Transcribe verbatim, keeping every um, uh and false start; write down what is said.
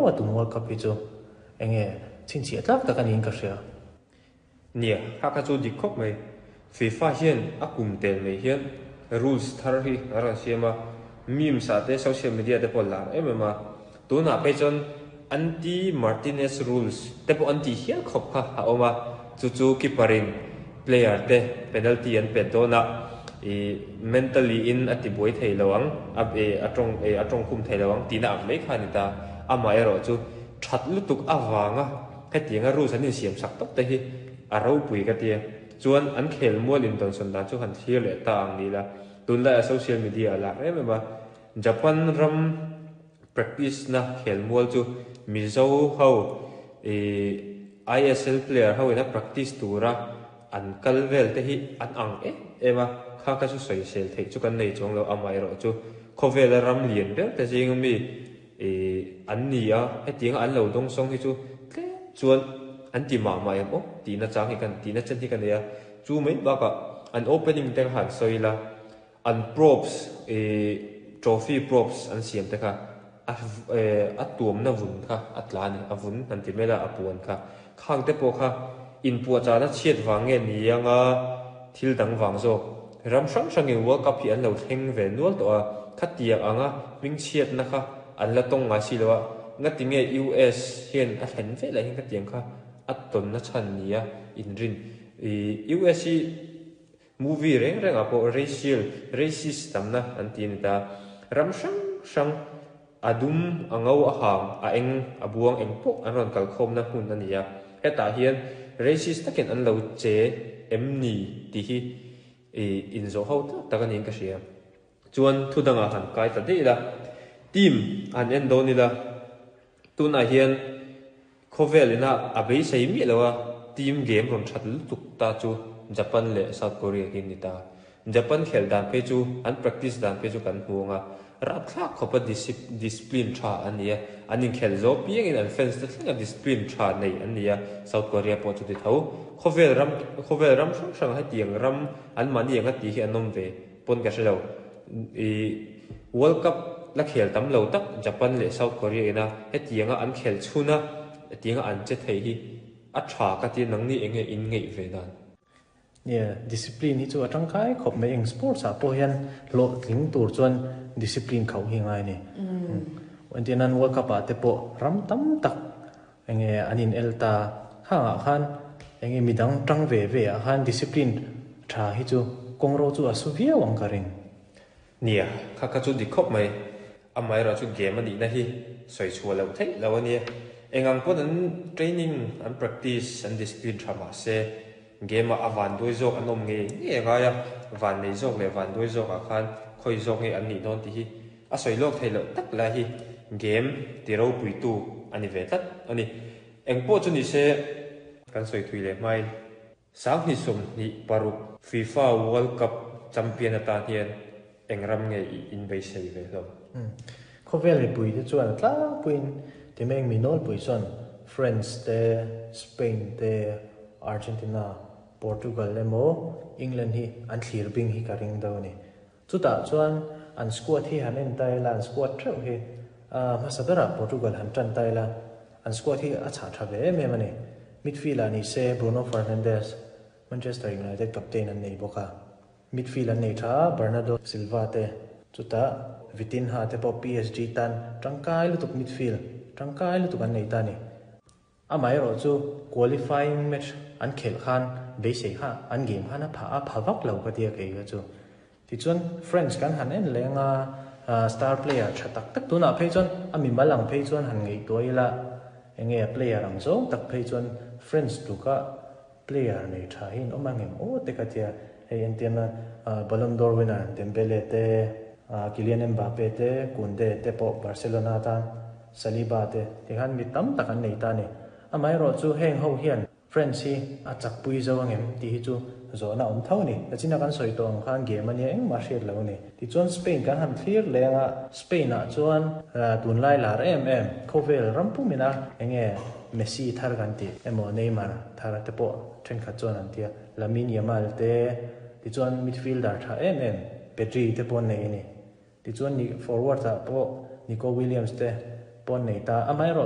viau a tun World Cup hi chu enge chhinchhiah tlak tak aniin ka hria. Nia, kha kha chu dik khawp mai. FIFA hian a kum tel mai hian rules thar hi a rawn siam a, memes ah te social media te pawh lar em em a. Tunah phei chuan anti Martinez rules te pawh an tih hial khawp kha a awm a, chu chu keeper in player te penalty an pet dawn a, ih mentally in a ti buai thei lo ang, a a tawng a tawng khum thei lo ang tihna ang mai kha a ni ta. Amaherawh chu that lutuk avanga hetianga rules an insiam sak tawp te hi a ropui ka tia. Chuan an khel mual in tawnsawn dan chu han thlir leh ta ang ni la. Tunlai a social media a lar em em a, Japan ram practice na khel mual chu Mizo ho ih I S L player ho ina practice tura an kal vel te hi an ang em em a, kha kha chu sawisel theih chu kan nei chuang lo. Amaherawh chu khawvel a ram lian ber te zing mi ih an ni a, hetianga an lo dawng sawng hi chu tlem chuan an ti mah mah em aw tihna chang hi kan tihna chen hi ka nei a. Chu mai bakah an opening te han sawi la, an props ih trophy props an siam te kha a a tuamna vun kha a tla ani, a vun han ti mai la, a puan kha khang te pawh kha inpuahchahna chhiat vang nge ni anga thil dang vang zawk? Ram hrang hrangin World Cup hi an lo thleng ve nual tawh a, khatiang anga hming chhiatna kha an la tawng ngai si lo a, ngati nge U S hian a thlen velah hian khatiang kha a tawnna chhan ni a inrin? Ih U S hi movie reng rengah pawh racial racist tamna an ti a ni ta. Ram hrang hrang a dum, a ngo, a hang, a eng, a buang eng pawh an rawn kalkhawmna hmun a ni a, hetah hian racist takin an lo che em ni tih hi ih inzawh ho tak tak a niin ka hria. Chuan thu dangah han kai ta daih la, team han en dawn ila, tunah hian khawvel ina a beisei miah lo a team game rawn that lutuk ta chu Japan leh South Korea hi ni ta. Japan khel dan phei chu, an practice dan phei chu kan hmu anga, rapthlak khawpa discipline tha an ni a, an inkhel zo piangin an fans te thlenga discipline tha nei an ni a. South Korea pawh chu ti tho. Khawvel ram khawvel ram hrang hrang hetiang ram an mahni anga tih hi an awm ve pawn ka hre lo. Ih World Cup la khel tam lo tak Japan leh South Korea ina hetianga an khel chhuna hetianga an che thei hi a tha ka ti. Nangni enge in ngeih ve dan? Yeah, discipline hi chu a tangkai khawp mai. Eng sports ah pawh hian hlawh tling tur chuan discipline khauh hi ngai ni. Entirnan World Cup ah te pawh ram tam tak enge an in el ta khangah khan enge midang tang ve ve ah khan discipline tha hi chu kawngro chu a su viau ang ka ring. Nia, kha kha chu dik khawp mai. Amaherawh chu game anih na hi sawi chhuah loh theih lo ania. Engang pawn an training, an practice, an discipline tha mah se game ah a van duai zawk an awm nge nge ngai a, van nei zawk leh van duai zawk ah khan khawi zawk nge an nih dawn tih hi a sawi lawk theih loh tak lai hi game ti ropui tu ani ve tlat ani. Eng pawh chu ni se, kan sawi thui leh hmain sanghnih sawmhnih paruk FIFA World Cup champion atan hian eng ram nge i in beisei ve hlawm? Khawvel mipui te chuan tlangpuiin timeng mi nawlpui chuan France te, Spain te, Argentina, Portugal emaw England hi an thlir bing hi ka ring do ni. Chutah chuan an squad hi han en ta ila, an squad theuh hi hmasa berah Portugal han tan ta ila, an squad hi a chhah tha ve em em ani. Midfield ah ni se Bruno Fernandes, Manchester United captain an nei bawk a, midfield an nei tha, Bernardo Silva te, chutah Vitinha te pawh P S G tan tangkai lutuk, midfield tangkai lutuk an nei ta ni. Amaherawh chu qualifying match an khel khan beisei kha an game khan a pha a pha vak lo ka tia kei kha chu. Tichuan France kan han en lenga, star player tha tak tak tunah phei chuan a mi mal ang phei chuan han ngei tuai ila, enge player ang zawng tak phei chuan France tuka player nei tha hin awm angem o te ka tia. Hei entirna Ballon d'Or winner Dembele te, Kylian Mbappe te, Kounde te pawh Barcelona tan, Saliba te, tikhan mi tam tak an nei ta ni. Amaherawh chu heng ho hian France hi a chakpui zo angem tih hi chu zawhna awm tho ni. Tachina kan sawi tawh ang khan game ania, engmah hriat lo ni. Tichuan Spain kan han thlir lenga, Spain ah chuan tunlai lar em em khawvel ram pumina enge Messi thar kan ti emaw Neymar thar te pawh thenkhat chuan an tia, Lamine Yamal te, tichuan midfielder tha em em Pedri te pawh nei ani. Tichuan ni forward ah pawh Nico Williams te pawh nei ta. Amaherawh